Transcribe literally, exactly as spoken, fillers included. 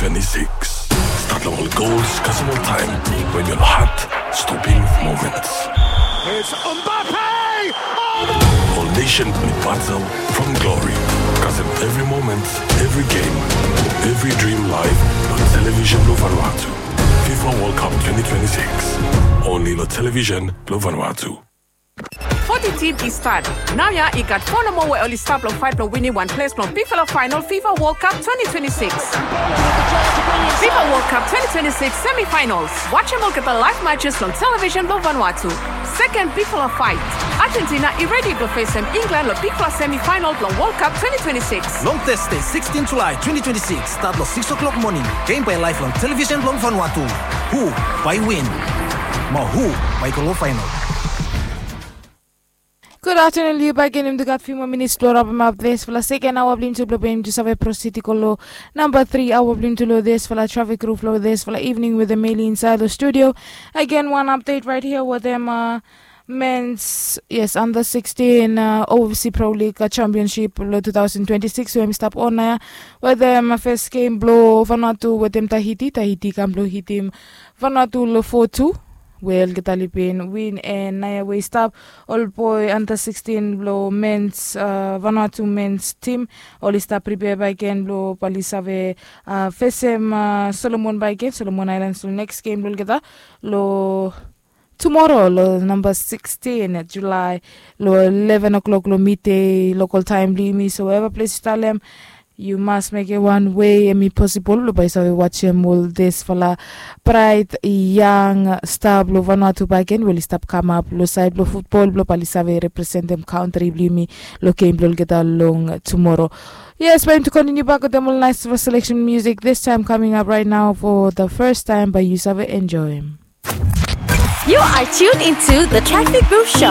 twenty-six. Start long ol goals, kasem ol taem when your heart stopping moments. It's Mbappe! Ol nation ni battle from glory. Kasem every moment, every game, every dream live on television lo Vanuatu. FIFA World Cup twenty twenty-six. Only lo television lo Vanuatu. Foti tim i stat. Naoia i gat fo nomo we oli stap long faet blong winim wan ples blong bigfala faenol FIFA World Cup twenty twenty-six. FIFA World Cup twenty twenty-six semifinals. Wajem olgeta laev matches long television blong Vanuatu. Seken bigfala faet. Argentina i redi blong fesem England long bigfala semifinal blong World Cup twenty twenty-six. Long Thursday, sixteen July twenty twenty-six, start long six o'clock morning. Game bae laev long television blong Vanuatu. Hu bae win? Mo hu bae go long faenol? Gud aftenun, yu baek gen. Yumi tu gat fiu moa minits blong rapemap disfala seken aoa blong yumi tu blong bae yumi tu save prosid i go long namba tri aoa blong yumi tu long disfala trafik ruf long disfala evening wetem Meli insaed long studio. Agen, wan apdet raet hia wetem mens, yes, under sixteen, uh, OFC Pro League, uh, Championship lo two thousand twenty-six we hem i stap on naoia. Wetem, uh, fes gem blo Vanuatu wetem Tahiti. Tahiti i kam blo hitim Vanuatu lo four two, we olgeta oli bin win. And naoia we i stap, ol boe under sixteen blo mens, uh, Vanuatu mens tim, oli stap pripea baek gen blo bae oli save, uh, fesem, uh, Solomon baek gen, Solomon Aelan, lo neks gem blo olgeta lo tumoro lo namba sixteen Julae lo eleven o'clock lo midei lokol taem blo yumi. So whatever ples yu talem, yu mas mekem wan wei hem i posibol blo bae yu save wajem ol disfala braet yang sta blo Vanuatu baek gen we oli stap kamap lo saed blo futbol blo bae oli save representem kantri blo yumi lo gem blo olgeta long tumoro. Yes, bae yumi tu kontiniu bak wetem ol naes seleksen musik, distaem kaming ap raet nao, for the first time, bae yu save enjoem. You are tuned into the Traffic Booth Show.